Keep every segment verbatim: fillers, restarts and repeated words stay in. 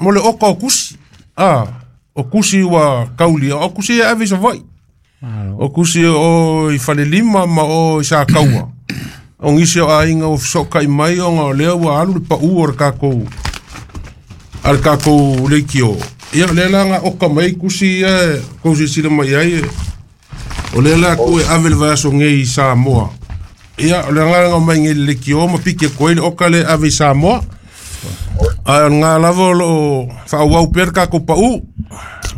mo le oka o kusi. Ah, o kusi ua kaulia, o kusi e ave i Savaii. O kusi o i Falelima ma o i Sakaua. O nisi o aiga ua fesootai mai ona o lea ua alu le pau o le tatou a le tatou leitio. Ia o lea la na oka mai ai kusi ia e tou silasila mai ai e o lea la tuu e ave le vaiaso nei i Samoa. Ia o le agaga mai nei i le leitio ma piki atu ai le oka lea e ave i Samoa. Ae o lena lava o loo faaauau pea le tatou pau.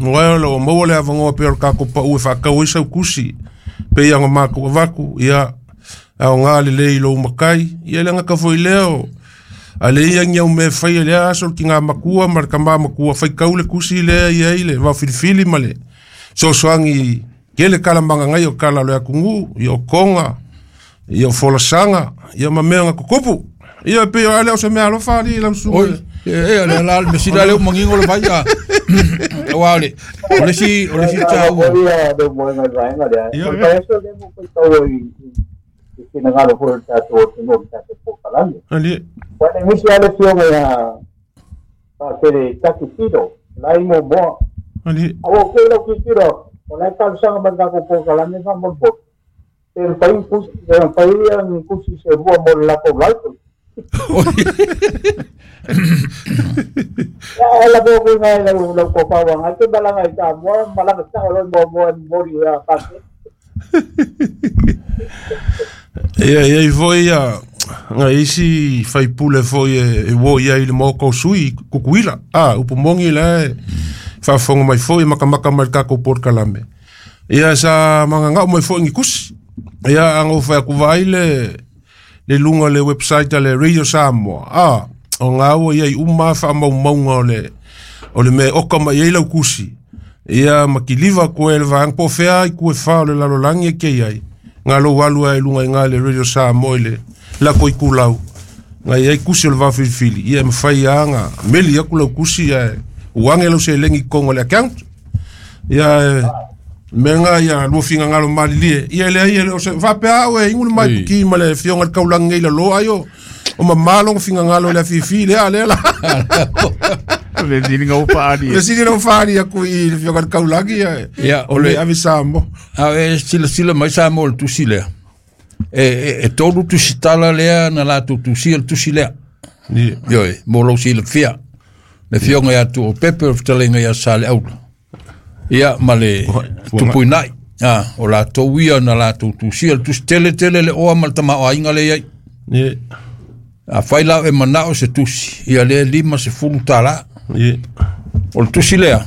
Aua o loo maua le avanoa pea o le tatou pau e faatau ai sau kusi pei ona matou avatu. Ia aoga lelei i lou matai. Ia le gata foi lea o a le ia ni au mea e faia i lea aso le tina matua ma le tama matua faitau le kusi lea i ai le vaofilifili ma le sosoagi tele tala magagai o tala o le atunuu, ia o toga, ia o folasaga, ia ma mea na tutupu. Ia e pei o ale o se mea alofa alii lau susuga. Oi, e e le la le mesila le mangingo le vai a. Aua o le o le isi o le isi taua. Ia le moega i le vaega lea. Ia. O le vaiaso lea mo faitau ai i finagalo foi o le tatou atunuu i le tatou polokalame. Alii. Ua le nisi lava le afioga ia Faatele Taki Tito, la e i Moamoa. Alii. A ua okay lau tilotilo, o la e talosaga mai i le tatou polokalame faamolemole, pe mafai ni kusi, pe mafai ni kusi se lua mo le latou library. Ia, e lave atu i ina i lau, lau tofa ua agai te malaga i Samoa, malaga sao loa i Moamoa e momoli ia Faatele. Ia i ai foi ia nai isi faipule foi e, e uo i ai i le maota o sui i Tutuila. Ah, upu moni la e faafofoga mai foi e matamata mai i le tatou polokalame. Ia sa magagao mai foi ni kusi. Ia ana ou fai atu vaai le le luga o le website a le Radio Samoa. Ah, o ngā ua i ai uma faamaumauga o le o le mea e oka mai ai lau kusi. Ia ma kiliva koe le vaega po o fea i ku e wha o le lalolagi e kei ai. Ngā lou alu ai lunga i ngā le Radio Samoa i le lako i kulau. Ngā i ai kusi o le vaofilifili. Ia e mawhai a ngā meli aku lau kusi ia e uange lau se lengi kongo le account. Ia e me ngā ia lua finga ngalo malilie. Ia le ai e le o se whapea au e ingu le mai Oi. puki ma le fionga le kaulangi ngei la lo ai o. O ma malo finga ngalo le afifi le a le la. Le sili ngau faali. Le sili lau faali aku i le fionga le kaulangi ia. Ia, O le ave Samoa. A e silasila mai Samoa i le tusi lea. E, e, e tolu tusitala lea na latou tusia le tusi lea. Ia. Ioe, mo lou silafia. Le afioga ia Tuuopepe o le fetalaiga ia Saleaula. Ia ma le Tupuinai. Ah, o latou ia na latou tusia le tusi tele tele le oa ma le tamaoaiga lea i ai. Ia. Afai la e manao se tusi, ia lea lima sefulu tālā. Ia. O le tusi lea,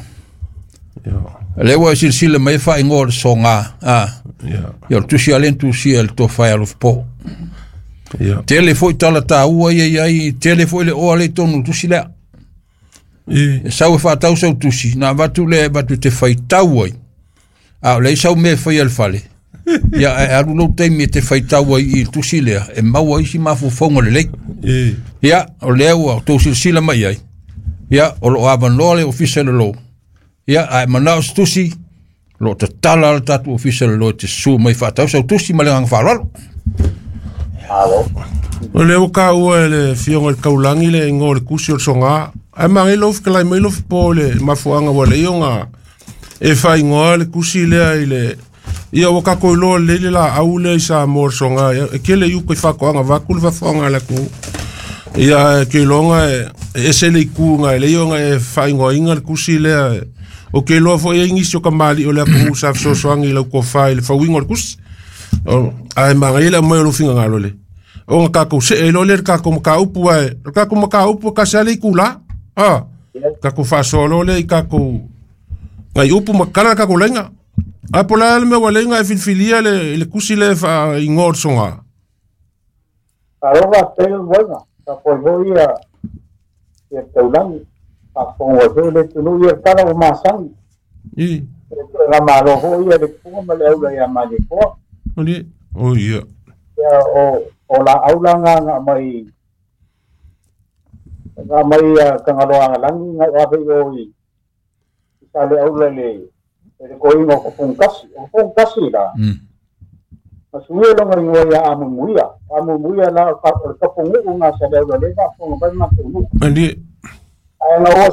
Ia. lea ua e silasila mai e faaigoa o le sogā. Ah, Ia. ia o le tusi a lea na tusia e le tofa e alofapo. Ia. Tele foi tala taua ia i ai, tele foi le oa lea i totonu o le tusi lea. Ia. E sau e faatau sau tusi, na avatu lea e avatu te faitau ai. A o leai sau mea e faia i le fale. Ia ae alu lou taimi e te faitau ai i le tusi lea, e maua ai si mafaufauga lelei. Ia. Ia, o lea ua tou silasila mai ai. Ia, o loo avanoa le ofisa i le lou. Ia, ae manao se tusi, o loo tatala le tatou ofisa i le lou e te susu mai faatau sau tusi ma le agaga faaaloalo. Malo. O le ua kaua e le fionga i le kaulangi le igoa o le kusi o le sogā. Ae magai lou fetalai mai lou fofo i le mafuaaga ua lei ona e faaigoa le kusi lea i le ia ua tatou iloa lelei le laau lea i Samoa o le sogā. Ia, e tele i uka i faatoaga vaeatu le fafofoga a le atunuu. Ia e ke iloga e e ese le itu ga e lei ona e faaigoaina le kusi lea. O ke iloa foi ai nisi o kamali'i o le atunuu sa fesoasoani i lau tofa i le fauiga o le kusi. O, ae magaia le aumai o lou finagalo le. Ona tatou see ai loa lea i le tatou mataupu ae o le tatou mataupu e tasi lava le itulā. Ah, tatou faasoa loa lea i tatou nai upu ma tatala le tatou laina. Ae po o le a le mea ua lei ona e filifilia le, le kusi lea e faaigoa o le sogā. Alo faafetai lau moega, tapuai foi ia ia le taulagi, faafofoga ai foi le atunuu ia le tala ua masani. I. E toe malo foi ia le puga ma le aula ia Malietoa. Ali. O ia. Ia o o laau la nga mai nga mai ia Tagaloagalagi nga ave i o i i Saleaula i le i le koiga o Kapugakasi. O Kapugakasi la, Mm. na suia loga igoa ia Amumuia. Amumuia la o ka- o le kapunu'u ga Saleaula lea faafofoga mai matou nuu. Ali. Ae na ua